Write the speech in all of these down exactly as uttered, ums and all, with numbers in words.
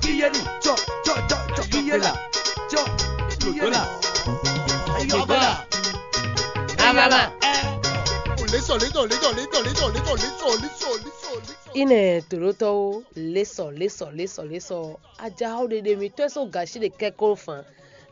Kiyenu, tsɔ, tsɔ, tsɔ, tsɔ, kiyela, tsɔ, kiyela. Ayɔba. Amama. Lésɔ, lésɔ, lésɔ, lésɔ, lésɔ, lésɔ, lésɔ, lésɔ, lésɔ, lésɔ. Ine tolotɔwo, lésɔ, lésɔ, lésɔ, lésɔ. Ajaxɔ ɖeɖe mi tɔ́ so gashi ɖe kɛkɔn fan.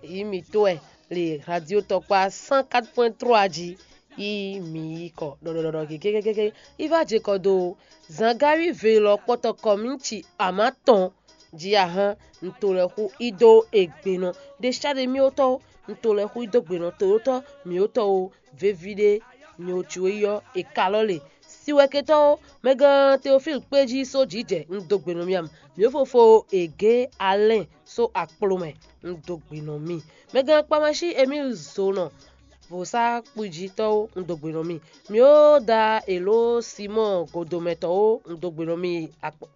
Yi mi tɔ́ ɛ le radio tɔkpa cent quatre point trois ji. Yi mi yi kɔ ɖɔɖɔɖɔɖɔ kékékéké. Yi va je kɔ do. Zangari ve lɔ kpɔtɔ kɔ mi ci ama tɔn. Ji ahan, un to lɛ́ xú i dó egbenɔ ɖe sá ɖe mì ótɔn, un to lɛ́ xú i dó gbenɔ toyótɔ́ mì ótɔn o, veví ɖé nyo co yi ɔ́, è ka lɔ le. Siwɛketɔ́ ó, mɛgán Teofílu kpé jí só jǐ jɛ, un dó gbenɔ mì ǎ. Mǐ fofo è gě Alɛ́n só akplo mɛ, un dó gbenɔ mì. Mɛgán Kpamáshi Emílu Zonɔ, vǒsákpujítɔ́ ó, un dó gbenɔ mì. Mǐ ó da èló Simɔ́ɔ godomɛtɔ́ ó, un dó gbenɔ mì.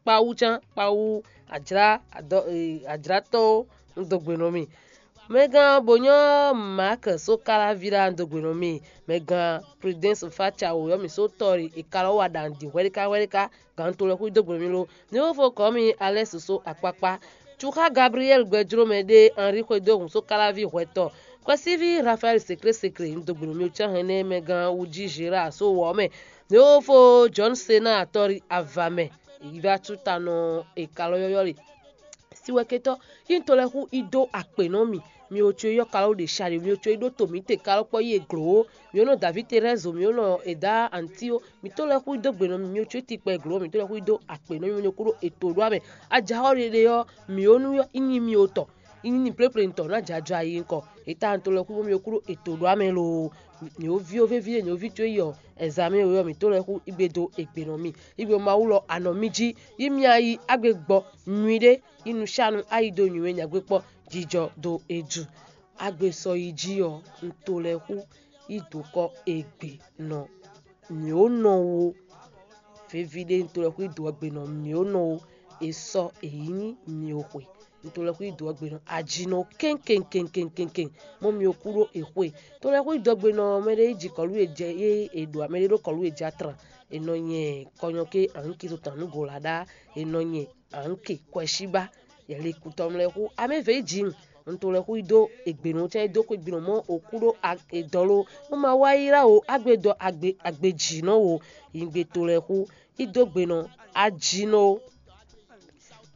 Kpawú cán, kpawú ajlá ajlátɔ́ ó, un dó gbenɔ mì. Mɛgán Bonyɔ́ Maak só káláví ɖá, un dó gbenɔ mì. Mɛgán Prudence Fáca wǒyɔ́ mì só tɔ́ e è ka lɔ wa ɖa nǔ ɖi hwɛɖéká hwɛɖéká, gǎn to lɛ́ xwídó gbe mì lo. Ní ó fó kɔ̌ mì alɛ́ sosó akpákpá. Cuxá Gabriɛ́li gbɛjlómɛ ɖé Henri xwedó hǔn só káláví hwɛtɔ́. Xwɛsíví Rafaɛ́li seklésekle, un dó gbe nú mì cán hɛn nɛ́ mɛ gán wú jí Zerá só wɔ ɔ́ mɛ. Ní ó fó Jɔ̌nu Sená tɔ́ ava mɛ, yi vá sú ta nɔ è ka lɔ yɔ́yɔ́ le. Siwɛketɔ́, yi un to lɛ́ xú i dó akpě nɔ mì. Mi o co yi ɔ́ ka lɔ ɖe sha ɖe, mi o co yi ɖó to mǐ te ka lɔ kpɔ́ yi e glǒ ó. Mi ó nɔ Davíd Terɛ́zo, mi ó nɔ Eda Antíó, mǐ tó lɛ́ xú dó gbe nɔ mì, mi o co yi tikpɛ glǒ, mǐ tó lɛ́ xú dó akpě nɔ mì, mi o kú ɖó ètò ɖó amɛ. Ajaxɔ ɖeɖe ɔ́, mǐ ó nú ɔ́, ínyi mi o tɔ, ínyi ni pléplé tɔn ná jɛ ajɔ ayi ŋkɔ. Eta un to lɛ́ xú mi o kú ɖó ètò ɖó amɛ loo. Nyɔ̌ví ó véví e nyɔ̌ví có yi ɔ́, ɛzamɛ wɛ ɔ́, mǐ tó lɛ́ xú igbe dó ègbè nɔ mì. Igbe Mawu lɔ anɔ mì jí, yi mi ayi agbe gbɔ nyuiɖé, yi nǔ sha nú ayi dó nyuiwe nyagbe kpɔ́ jijɔ dó e ju. Agbe sɔ yi jí ɔ́, un to lɛ́ xú yi dǒ kɔ ègbè nɔ. Mǐ ó nɔ wo veví ɖé un to lɛ́ xú yi dǒ ɔ́ gbe nɔ, mǐ ó nɔ wo è sɔ è yi nyí mǐ ó xwe. Un to lɛ́ xú yi dǒ ɔ́ gbe nɔ ajinɔ kɛ́nkɛ́nkɛ́nkɛ́nkɛ́n, mɔ mǐ ó kú ɖó è xwe. To lɛ́ xú yi dǒ ɔ́ gbe nɔ mɛ ɖé yi ji kɔlú e jɛ é è ɖo mɛ ɖé ɖó kɔlú e jɛ atran, è nɔ nyɛ kɔnyɔ ké ahǔn kizo tɔn nǔ go la ɖá, è nɔ nyɛ anke kwɛshíbá. Yɛlikutɔnu lɛ́ɛ xú amɛ́vɛ̌ yi jǐ un to lɛ́ xú yi dó ègběnú cán yi dó xwé gbi nɔ mɔ òkú ɖó edɔ̌ ló. Mɔ ma wá ylá o ágbedɔ agbe agbejǐnɔ o. Yingbe to lɛ́ɛ xú yi dó gbe nɔ ajinɔ o.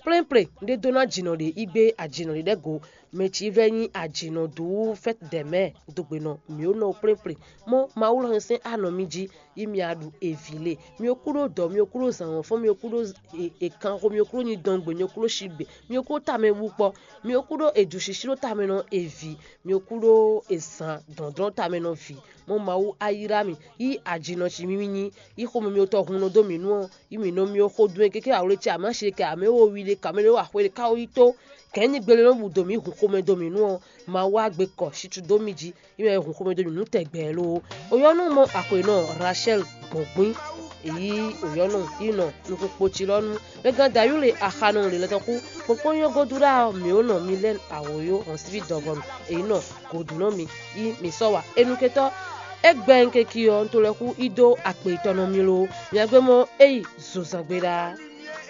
Plɛ́nplɛ́n un ɖe dó ná jǐnɔ ɖě yi gbé ajǐnɔ ɖě ɖɛ́ go. Mɛ cí vɛ́ nyí ajǐnɔ dǔ fɛ́t dɛ̌ mɛ dó gbe nɔ mǐ ó nɔ plɛ́nplɛ́n. Mɔ Mawu lɔ hɛn sɛ́n anɔ mì jí. Yi mi a ɖu evi le. Mi o kú ɖó dɔ̌, mi o kú ɖó zǎnwɔ́nfɔ́n, mi o kú ɖó e- ekanxo, mi o kú ɖó nyidɔngbe, mi o kú ɖó shigbe, mi o kú ɖó tamɛwú kpɔ, mi o kú ɖó edu shishi ɖó tamɛ nɔ evi, mi o kú ɖó ezan dɔndɔn tamɛ nɔ vi. Mɔ Mawu ayíra mi, yi ajinɔ ci mi mi nyi, yi xomɛ mi otɔ hun nɔ dó mi nú ɔ́, yi mi nɔ mi o xo dun e keke awle ce amá shi kɛ amɛ wo wi ɖe kamɛ ɖe wo axwe ɖe ka wo yi tó. Kɛ̌nyi gbele nɔ bu dó mi hun xomɛ dó mi nú ɔ́, Mawu agbe kɔ shitu dó mi jí. Yi mɛ hun xomɛ dó mi nú tɛgbɛ loo. Oyɔ́nú mɔ axwenɔ Rachel gbɔn gbín. Èyí oyɔ́nú yi nɔ nukúnkpo ci lɔ nú. Mɛgán Dayúle axanɔ lě lɛ́ tɔn kú. Kpɔ́nkpɔ́n nyɔ́ godu ɖá ɔ́, mǐ ó nɔ mi lɛ́n awǒyó hɔn síví dɔgɔnu. Èyí nɔ gǒdunɔ mi yi mi sɔ́ wa enuketɔ́. É gbɛ nkeki ɔ́, un to lɛ́ xú í dó akpe tɔn nɔ mi loo. Mi agbe mɔ é yi zozangbe ɖaa.